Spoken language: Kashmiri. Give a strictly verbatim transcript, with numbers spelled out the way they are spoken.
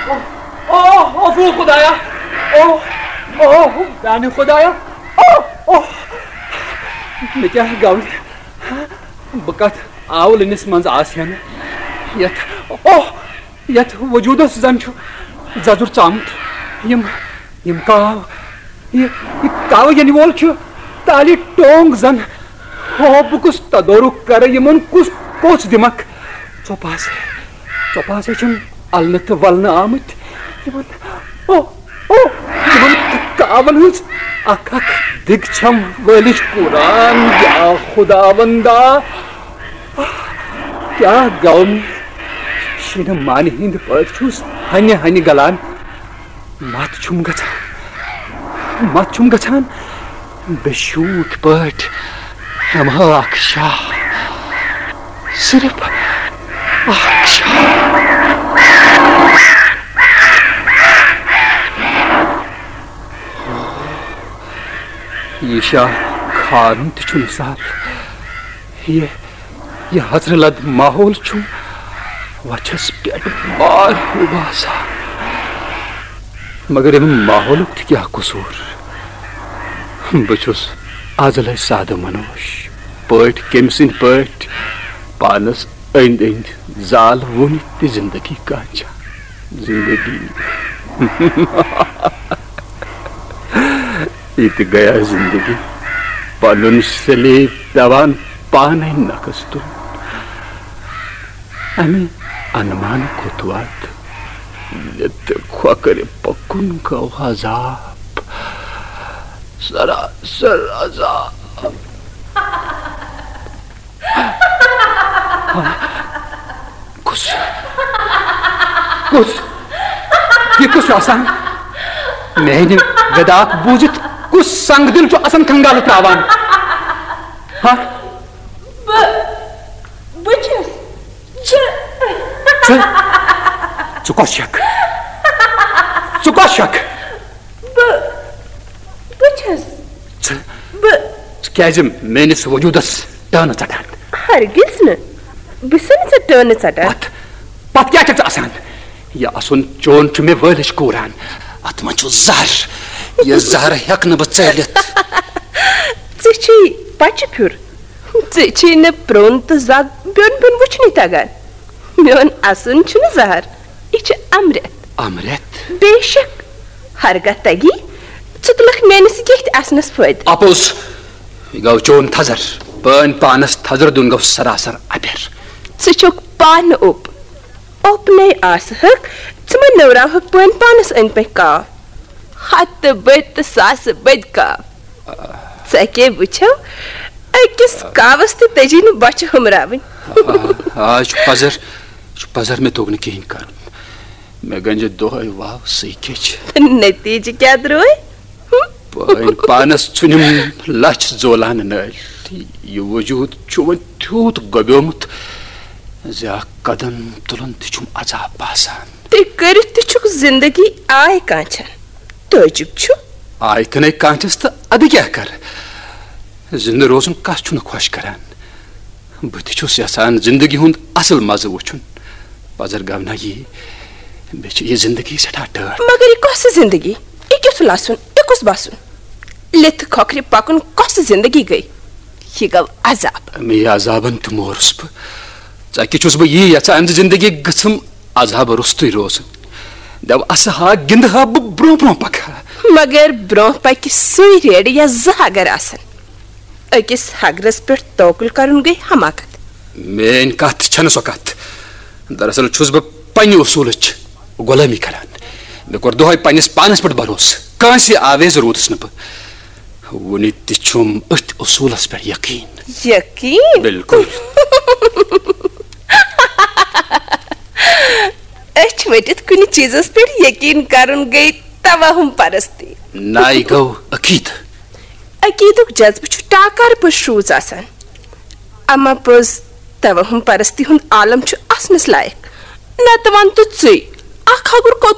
اوہ، اوہ، خدایا۔ اوہ، اوہ، میانہِ خدایا۔ اوہ، اوہ۔ مےٚ کیٛاہ گوٚو؟ بہٕ کتھ آولٕنِس منٛز آسہٕ ہن؟ یتھ، اوہ، یتھ وجوٗدس زن چھُ ززُر ژامُت۔ یِم، یِم کاو، یہِ، یہِ کاوٕ ینہٕ وول چھُ تالہِ ٹونگ زن۔ ہو، بہٕ کُس تدورُک کرٕ، یِمن کُس پوٚژھ دِمکھ؟ ژۄپاسے، ژۄپاسے چھِم النہٕ تہٕ ولنہٕ آمٕتۍ۔ یِمن، او، او، یِمن کاون ہٕنٛز اکھ اکھ دِگ چھم وٲلِج قرآن۔ یا خداوندا، کیٛاہ گوٚو مےٚ؟ شیٖنہٕ مانہِ ہٕنٛدۍ پٲٹھۍ چھُس ہنہِ ہنہِ گلان۔ مت چھُم گژھان، مت چھُم گژھان۔ بے شوٗکھ پٲٹھۍ ہٮ۪مہٕ ہا اکھ شاہ، صرف اکھ شاہ۔ یہِ شاہ کھارُن تہِ چھُنہٕ سہل۔ یہِ یہِ ہژرِ لد ماحول چھُم وچھس پٮ۪ٹھ بار ہیوٗ باسان۔ مگر ییٚمہِ ماحولُک تہِ کیٛاہ قصوٗر؟ بہٕ چھُس ازلے سادٕ منوش پٲٹھۍ، کٔمۍ سٕنٛدۍ پٲٹھۍ پانس أنٛدۍ أنٛدۍ زال وُنہِ تہِ زندگی کانچان۔ زندگی۔ یہِ تہِ گٔیا زندگی، پنُن سلیب پٮ۪وان پانے نقص تُلُن۔ امہِ انمان کوٚت واتہٕ؟ یتھ کھۄکھرِ پکُن گوٚو عذاب، سراسر عذاب۔ کُس؟ کُس؟ یہِ کُس چھُ آسان؟ میانہِ وِداک بوٗزِتھ کُس سنگ دِل چھُ آسان کنگالہٕ تراوان؟ ہا؟ بہٕ، بہٕ چھَس۔ چھِ۔ ژٕ، ژٕ کۄس چھَکھ؟ ژٕ کۄس چھَکھ؟ بہٕ، بہٕ چھَس۔ ژٕ، بہٕ۔ ژٕ کیٛازِ میٲنِس وجوٗدس ٹٲنہٕ ژٹان؟ ہرگز نہٕ۔ بہٕ چھَس نہٕ ژےٚ ٹٲنہٕ ژٹان۔ پتھ، پتھ کیٛاہ چھَکھ ژٕ آسان؟ یہِ اَسُن چون چھُ مےٚ وٲلِج کوٗران۔ اَتھ منٛز چھُ زہر۔ یہِ زہر ہٮ۪کہٕ نہٕ بہٕ ژٲلِتھ۔ ژےٚ چھُے پچہِ پھیُر۔ ژےٚ چھُے نہٕ پرٛون تہٕ زگ بیوٚن بیوٚن وٕچھنُے تگان۔ میون اَسُن چھُنہٕ زہر، یہِ چھُ امرت۔ امرت؟ بے شک، ہرگاہ تگی، ژٕ تُلکھ میٲنِس ییٚتھۍ اَسنَس فٲیدٕ۔ اپُز، یہِ گوٚو چون تھزر۔ پٲنۍ پانس تھزرٕ دیُن گوٚو سراسر اپیر۔ ژٕ چھُکھ پانہٕ اوٚپ۔ اوٚپنے آسہٕ ہکھ، ژٕ مہ نٔوراوہکھ پٲنۍ پانس أنٛدۍ پٔکۍ کاو۔ ہتہٕ بٔدۍ تہٕ ساسہٕ بٔدۍ کاو۔ ژےٚ کیٛاہ وٕچھو؟ أکِس کاوس تہِ تٔجی نہٕ بۄچھِ ہُمراوٕنۍ۔ آ، آ، یہِ چھُ پزر، یہِ چھُ پزر، مےٚ توٚگ نہٕ کِہیٖنۍ کرُن۔ مےٚ گنجہِ دۄہے واو سٕے کیچ۔ نتیجہٕ کیٛاہ درٛاے؟ ہُم؟ پٲنۍ پانس ژھُنِم لچھ زولان نٲلۍ۔ یہِ وجوٗد چھُ وۄنۍ تیوٗت گۄبیومُت زِ اکھ قدم تُلُن تہِ چھُم عذاب باسان۔ تُہۍ کٔرِتھ تہِ چھُکھ زندگی آے کانچھن۔ تعجب چھُ۔ آے تہِ نے کانچھس تہٕ ادٕ کیٛاہ کرٕ؟ زندٕ روزُن کس چھُنہٕ خۄش کران؟ بہٕ تہِ چھُس یژھان زندگی ہُنٛد اصل مزٕ وُچھُن۔ پزر گونا یی، مےٚ چھِ یہِ زندگی سٮ۪ٹھاہ ٹٲٹھ۔ مگر یہِ کۄس زندگی؟ یہِ کیُتھ لسُن؟ یہِ کُس بسُن؟ لِتھٕ کھۄکھرِ پکُن کۄس زندگی گٔے؟ یہِ گوٚو عذاب۔ اَمے عذابن تہِ مورُس بہٕ۔ ژکہِ چھُس بہٕ یی یژھان زِ زندگی گٔژھٕم عذاب روٚستُے روزٕنۍ۔ دَپہٕ اسہٕ ہا، گِنٛدٕ ہا، بہٕ برونٛہہ برونٛہہ پکہٕ ہا۔ مگر برونٛہہ پکہِ سُے ریڑٕ یا زٕ اگر آسن۔ أکِس ہگرس پٮ۪ٹھ توکل کرُن گٔے حماقت۔ میٲنۍ کتھ چھنہٕ سۄ کتھ۔ دراصل چھُس بہٕ پننہِ اصوٗلٕچ غلٲمی کران۔ مےٚ کوٚر دۄہے پننِس پانس پٮ۪ٹھ بھروسہٕ، کٲنٛسہِ آویز روٗدُس نہٕ بہٕ۔ وُنہِ تہِ چھُم أتھۍ اصوٗلس پٮ۪ٹھ یقین۔ یقین؟ بِلکُل۔ أچھ ؤٹِتھ کُنہِ چیٖزس پٮ۪ٹھ یقین کرُن گٔے توہم پرستی۔ نہ، یہِ گوٚو عقیدٕ۔ عقیدُک جذبہٕ چھُ ٹاکار پٲٹھۍ شروٗژ آسان۔ اما پوٚز، توہم پرستی ہُنٛد عالم چھُ اسنس لایق۔ نتہٕ ون تہٕ ژٕے، اکھ ہگُر کوٚت